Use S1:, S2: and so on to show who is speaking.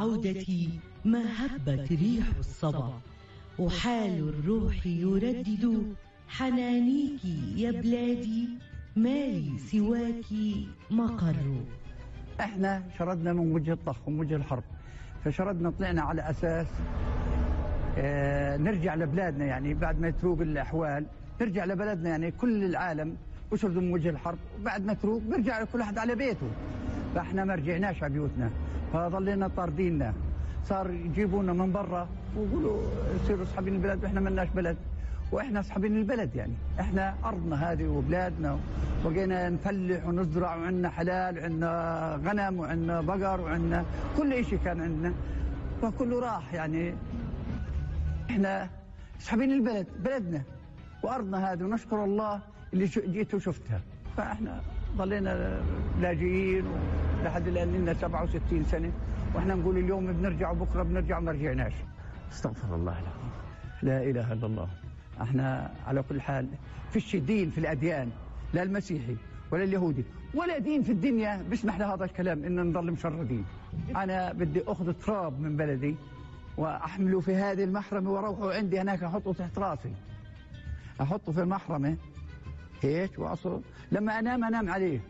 S1: عودتي ما هبت ريح الصبا، وحال الروح يردد حنانيك يا بلادي، ما لي سواك مقر.
S2: احنا شردنا من وجه الطخ ومن وجه الحرب، فشردنا طلعنا على اساس نرجع لبلادنا، يعني بعد ما يتروق الاحوال نرجع لبلدنا، يعني كل العالم وشردوا من وجه الحرب، وبعد ما تروق بيرجع كل واحد على بيته، فاحنا ما رجعناش على بيوتنا، فظلينا طارديننا، صار يجيبونا من برا ويقولوا يصيروا اصحابين البلد، واحنا ملناش بلد، واحنا اصحابين البلد، يعني احنا ارضنا هذه وبلادنا، وبقينا نفلح ونزرع، وعندنا حلال وعندنا غنم وعندنا بقر وعندنا كل شيء كان عندنا، فكله راح. يعني احنا اصحابين البلد، بلدنا وارضنا هذه، ونشكر الله اللي جيت وشفتها. فاحنا ضلينا لاجئين لحد الان، لنا 67 سنه، واحنا نقول اليوم بنرجع وبكره بنرجع وما رجعناش. استغفر الله العظيم، لا اله الا الله. احنا على كل حال فيش دين في الاديان، لا المسيحي ولا اليهودي ولا دين في الدنيا بيسمح لهذا الكلام ان نضل مشردين. انا بدي اخذ تراب من بلدي واحمله في هذه المحرمه واروحه عندي هناك احطه تحت راسي، احطه في المحرمه هيك واصل لما انام عليه.